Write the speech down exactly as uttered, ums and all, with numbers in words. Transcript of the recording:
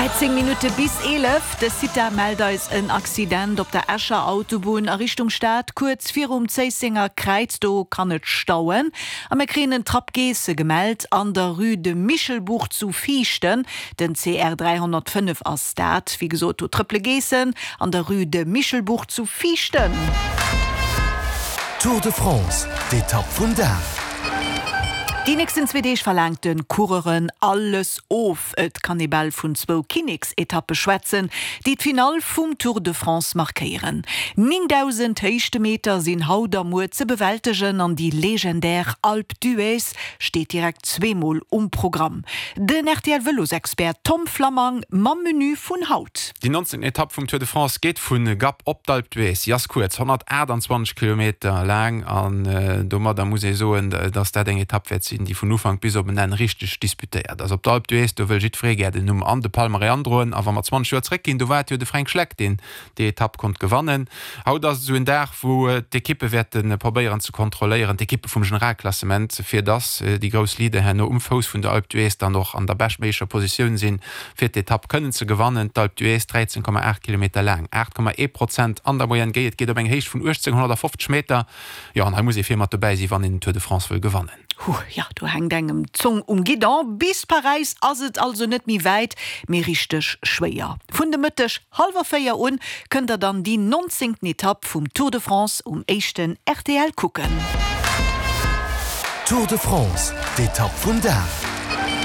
Dräizéng Minutte bis eelef, De CITA mellt eis en Accident op der Escher Autobunn a Richtung Stad, kuerz virum Zéissenger Kräiz. Do kann et stauen. A mir kréien en Trapp Geesse gemellt an der Rue de Michelbuch zu Viichten. Den C R dräihonnertfënnef ass dat. Wéi gesot, do trëppele Geessen an der Rue de Michelbuch zu Viichten. Tour de France, d'Etapp vum Dag. Déi nächsten zwee Deeg verlaangt de Coureuren alles of. Et kann ee bal vun zwou Kinneksetappe schwätzen, déi d'Finall vum Tour de France markéieren. Néngdausend Héichtemeter sinn haut a muer ze bewältegen an déi legendär Alpe d'Huez steet direkt zweemol um Programm. Den R T L-Vëlosexpert Tom Flammang mam Menu vun haut. Déi nonzéngten Etapp vum Tour de France geet vu Gap op d'Alpe d'Huez. Si ass kuerz, honnertaachtanzwanzeg Kilometer laang an domadder muss ee soen, dass dat eng Etapp wäert sinn, déi vun Ufank bis op en Enn richteg disputéiert ass. Op der Alpe d'Huez, do wëll jiddweree gär den Numm an de Palmarès androen. A wa mer zwanzeg Joer zréckginn, do war et jo de Fränk Schleck, deen déi Etapp konnt gewannen. Haut ass et esou en Dag, wou d'Ekippe wäerte probéieren ze kontrolléieren, d'Ekippe vum Generalklassement, fir dass déi grouss Leader herno um Fouss vun der Alpe d'Huez dann och an der beschtméiglecher Positioun sinn, fir d'Etapp kënnen ze gewannen. D'Alpe d'Huez, dräizéng Komma aacht Kilometer laang, aacht Komma ee Prozent an der Moyenne géi. Et geet op eng Héicht vun uechtzénghonnertfofzeg Meter. Jo, an hei muss ee vir mat dobäi sinn, wann een den Tour de France wëll gewannen. Huh, ja, do hänkt engem d'Zong um Guidon. Bis Paräis ass et also net méi wäit, mee richteg schwéier. Vun de Mëtteg hallwer véier un kënnt der dann déi nonzéngten Etapp vum Tour de France um éischten R T L kucken. Tour de France, d'Etapp vum Dag.